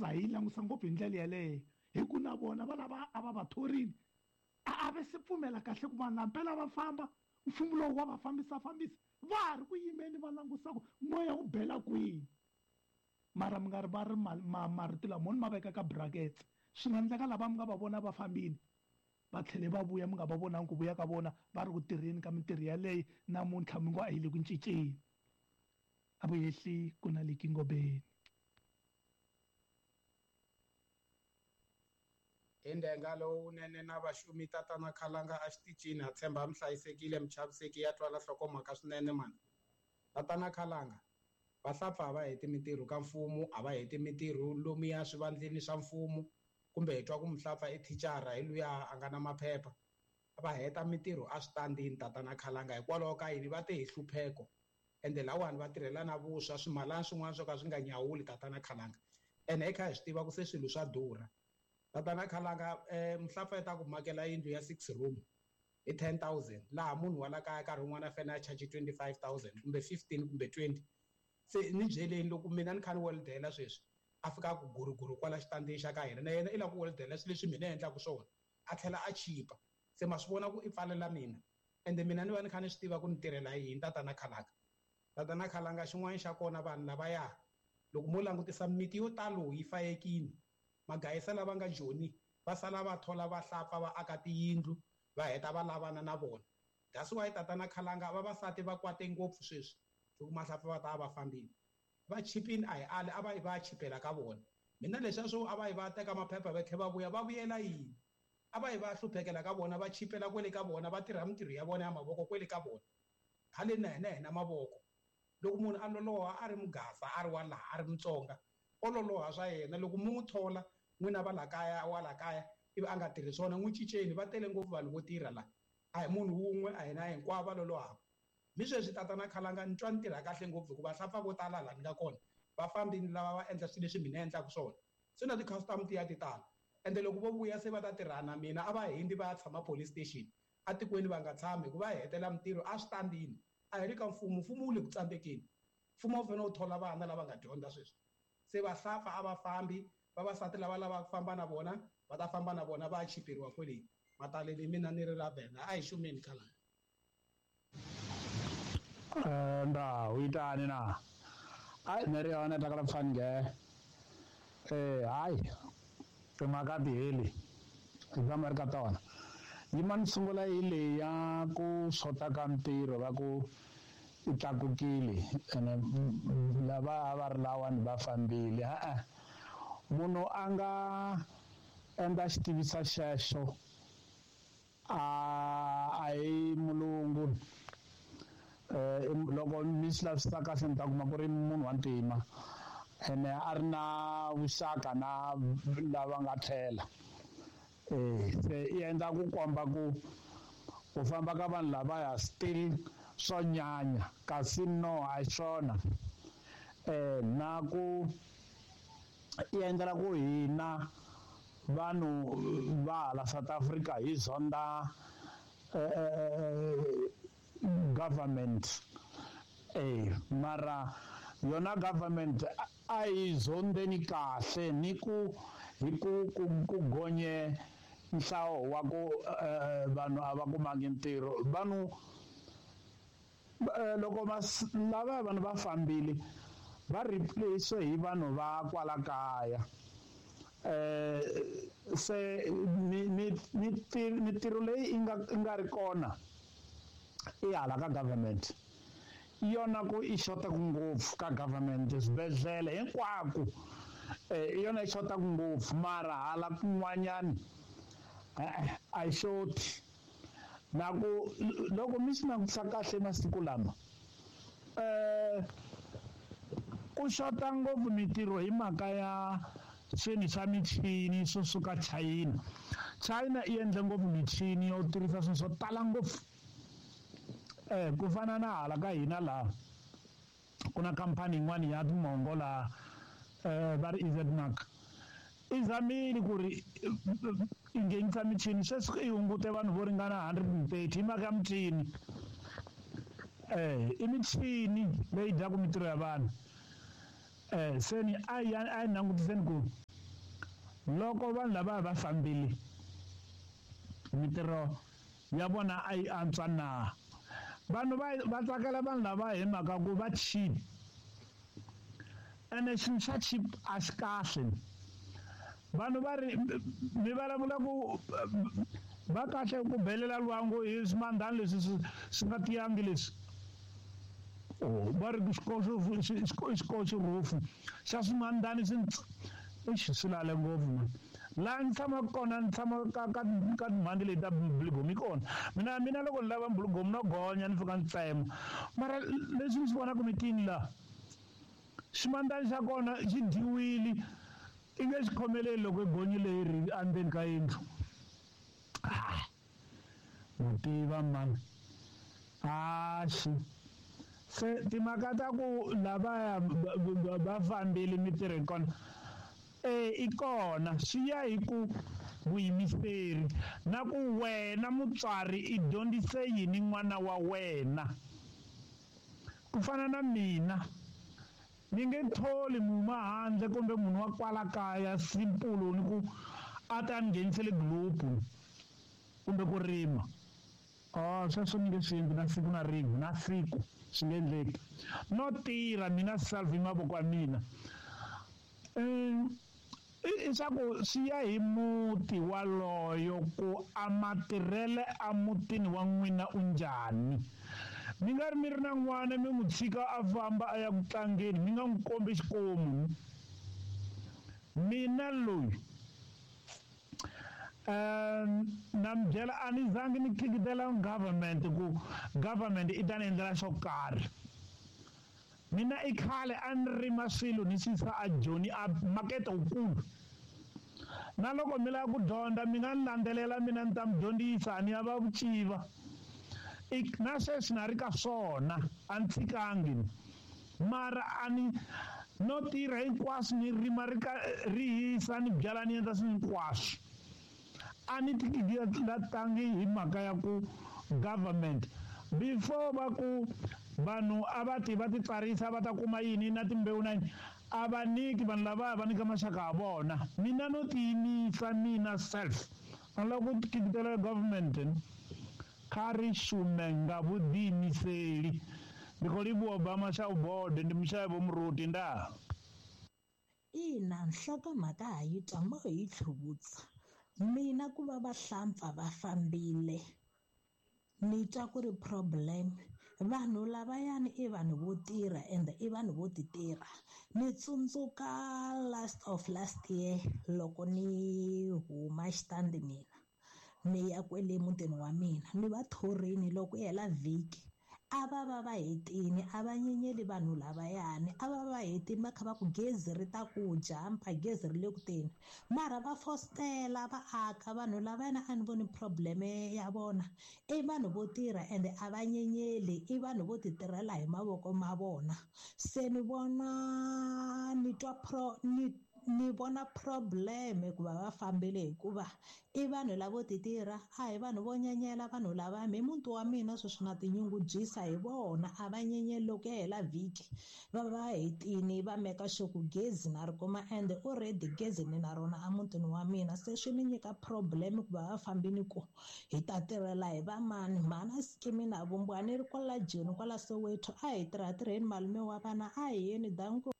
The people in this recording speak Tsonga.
Za hi yi langusa ngopfu hi ndlela yeleyo hi ku na vona va lava a va va thorini a a ve se pfumela kahle ku vanhu lampela va famba mfumo lowu wa va fambisa fambisa va ha ri ku yimeni va langusa ku moya wu bela kwihi mara mi nga ri va ri marito lama ni ma veka ka brackets swi nga endleka lava mi nga va vona va fambile va tlhele va vuya mi nga va vonangi ku vuya ka vona va ri ku tirheni ka mintirho yaleyo namuntlha mi ngo a yi le ku cinceni a vuyehli ku na liki ngobeni. Hi ndhenga lowunene na vaxumi tatana Khalanga a xitichini ha tshemba mi hlayisekile michaviseki ya twala nhlokomhaka swinene mani tatana Khalanga vahlapfa a va heti mintirho ka mfumo a va heti mintirho lomuya swivandleni swa mfumo kumbe hi twa ku muhlapfa i thicara hi luya a nga na maphepha va heta mintirho a switandini tatana Khalanga hikwalaho ka yini va te hi hlupheko ende lawani va tirhela na vuswa swimalana swin'wana swo ka swi nga nyawuli tatana Khalanga ene hi kha hi swi tiva ku se swilo swa durha tatana Khalanga muhlapfa yi ta ku makela yindlu ya 6 room hi 10000 laha munhu wa la kaya nkarhi wun'wana a fanele a charge 25000 kumbe 15 kumbe 20 se ni byeleni loko mina ni kha ni weldela sweswi a fika ku guruguru kwala xitandini xa ka hina na yena i lava ku weldela swilo leswi mina endlaka swona a tlhela a chipa se ma swi vona ku i pfalela mina ende mina ni va ni kha ni swi tiva ku ni tirhela yini tatana Khalanga tatana Khalanga xin'wana xa kona vanhu lavaya loko mo langutisa miti yo talo yi fayekile magayisa lava nga joni va sala va thola va hlapfa va aka tiyindlu va heta va lavana na vona that's why tatana Khalanga vavasati va kwate ngopfu sweswi loko mahlapfa va ta va fambile va chipini a hi ali a va yi va chipela ka vona mina leswiya swo a va yi va teka maphepha va tlhela va vuya va vuyela yini a va yi va hluphekela ka vona va chipela kwele ka vona va tirha mintirho ya vona ya mavoko kwele ka vona haleni na hina hina mavoko loko munhu a loloha a ri mugasa a ri wa laha a ri mutsonga o loloha swa yena loko mu n'wi thola n'wina va la kaya wa la kaya ivi a nga tirhi swona n'wi cinceni va tele ngopfu vanhu vo tirha la a hi munhu wun'we a hina hinkwavo va lolohaka mi sweswi tatana Khalanga ni twa ni tirha kahle ngopfu hikuva hlapfa vo tala laha ni nga kona va fambini lava va endla swilo leswi mina endlaka swona se na ti-customer ti ya ti tala ende loko vo vuya se va ta tirha na mina a va hindi va ya tshama police station atikweni va nga tshami hikuva hi hetela mintirho a switandini a hi ri ka mfumo mfumo wu le ku tsandzekeni mfumo wu fanele wu thola vana lava nga dyondza sweswi se vahlapfa a va fambi vavasati lava lavaka ku famba na vona va ta famba na vona va ya chiperiwa kwele mataleni mina ni ri ra vena a hi xumeni khalanga Nda u itani na ai nṋe ri hone takala pfani nge hayi timhaka ti heli hi tshama ri ka tona yima ni sungula hi leyi ya ku xota ka mintirho va ku yi tlakukile ene lava a va ri lawani va fambile e-e munhu a nga endla xitivisa xexo a hi mulungu loko mi swi lavisisa kahle mi ta kuma ku ri munhu wa ntima ene a ri na vuxaka na lava nga tlhela se i endla ku komba ku ku famba ka vanhu lavaya still swo nyanya kasi no a hi swona na ku i endlela ku hina vanhu va hala South Africa hi zonda government mara yona government a yi zondeni kahle ni ku hi ku ku gonye nhlawo wa ku vanhu a va kumangi ntirho vanhu loko lava vanhu va fambile va replace hi vanhu va kwala kaya se mintirho leyi yi nga ri kona i hala ka government yona ku i xotaka ngopfu ka government swibedhlele hinkwako i yona yi xotaka ngopfu mara hala kun'wanyani a yi xoti na ku loko mi swi langutisa kahle masiku lama ku xota ngopfu mintirho hi mhaka ya swilo swa michini swo suka China China yi endle ngopfu michini yo tirhisa swilo swo tala ngopfu ku fana na hala ka hina laha ku na khampani yin'wana ya timongo laha va ri EZMark i zamile ku ri i nghenisa michini sweswi i hungute vanhu vo ringana 130 hi mhaka ya michini i michini leyi dyaka mintirho ya vanhu. Se ni a yi langutiseni ku loko vanhu lava va fambile mitirho ya vona a yi antswa na. Vanhu va tsakela vanhu lava hi mhaka ku va cheap, ene xilo xa cheap a xi kahle. Vanhu va ri mi vulavula ku va kahle ku belela lwangu hi swimandlani leswi swi nga tiyangi leswi. Va ri xikoxo roof xa swimandlani swi swi lale ngopfu man. Laha ni tshamaka kona ni tshama ka timhandi leti ta buligomu yi kona. Mina loko ni lava buligomu no gonya ni fika ni tsema. Mara leswi ni swi vonaka mitini laha, ximandlani xa kona xi dyiwile, i nge xi khomeleli loko i gonyile yi ri endzeni ka yindlu. Ma tiva mani. Axi. Se timhaka ta ku lavaya va fambile mitirho kona, i kona swi ya hi ku vuyimiseri na ku wena mutswari i dyondzise yini n'wana wa wena. Ku fana na mina, ni nge tholi munhu wa handle kumbe munhu wa kwala kaya simple ni ku a ta ni nghenisele group kumbe ku rima. Sweswo ni nge swi endli na siku na rin'we, na siku swi nge endleki. No tirha mina self hi mavoko ya mina. I swa ku swi ya hi muti waloyo ku a matirhele a mutini wa n'wina u njhani. Mi nga ri mi ri na n'wana mi n'wi tshika a famba a ya ku tlangeni, mi nga n'wi kombi xikomu. Mina loyi na mi byela a ni zangi ni khikitela government ku government i ta ni endlela xo karhi. Mina i khale a ni rima swilo ni swi yisa a Joni a makete wukulu. Na loko mi lava ku dyondza mi nga ni landzelela mina ni ta mi dyondzisa, ni ya va vuciva. Na sweswi na ri ka swona, a ni tshikangi. Mara a ni no tirha hinkwaswo, ni rima ri ka ri hisa, ni byala, ni endla swilo hinkwaswo. A ni tikilatangi hi mhaka ya ku government before va ku vanhu a va ti va titsarisa va ta kuma yini na timbewu na yini, a va nyiki vanhu lava va nyika maxaka ya vona. Mina no tiyimisa mina self, a ni lava ku khikitela government. Kha ri shume nga vhuḓiimiseli. Ndi khou livhuwa Obama xa ubode, ndi mushayi vho muruti nda. Ina, nhlokomhaka ha yi twa mo hi tlhuvutsa. Mina ku va vahlampfa va fambile ni twa ku ri problem. Vanhu lavayani i vanhu vo tirha ende i vanhu vo ti tirha. Ni tsundzuka last of last year loko ni huma xitandi mina ni ya kwele mutini wa mina, ni va thorini loko yi hela vhiki. A va va va hetini, a va nyenyeli vanhu lavayani, a va va hetini va kha va ku gezi ri ta ku jampa, gezi ri le ku teni. Mara va fostela va aka vanhu lavayani, a ni voni problem ya vona. I vanhu vo tirha ende a va nyenyeli, i vanhu vo ti tirhela hi mavoko ma vona. Se ni vona ni twa pro, ni ni vona problem ku va va fambile hikuva i vanhu lavo ti tirha, a hi vanhu vo nyenyela vanhu lava. Mi muti wa mina sweswi na tinyungubyisa hi vona, a va nyenyeli loko ya hela vhiki va va hetini va meka sure ku gezi na ri kuma, ende already gezi ni na rona emutini wa mina. Se swi ni nyika problem ku va va fambini ku hi ta tirhela hi va mani. Mhana scheme na vumbiwa ni ri kwala Joni kwala Soweto, a hi tirha tirheni malume wa vana, a hi yeni danko.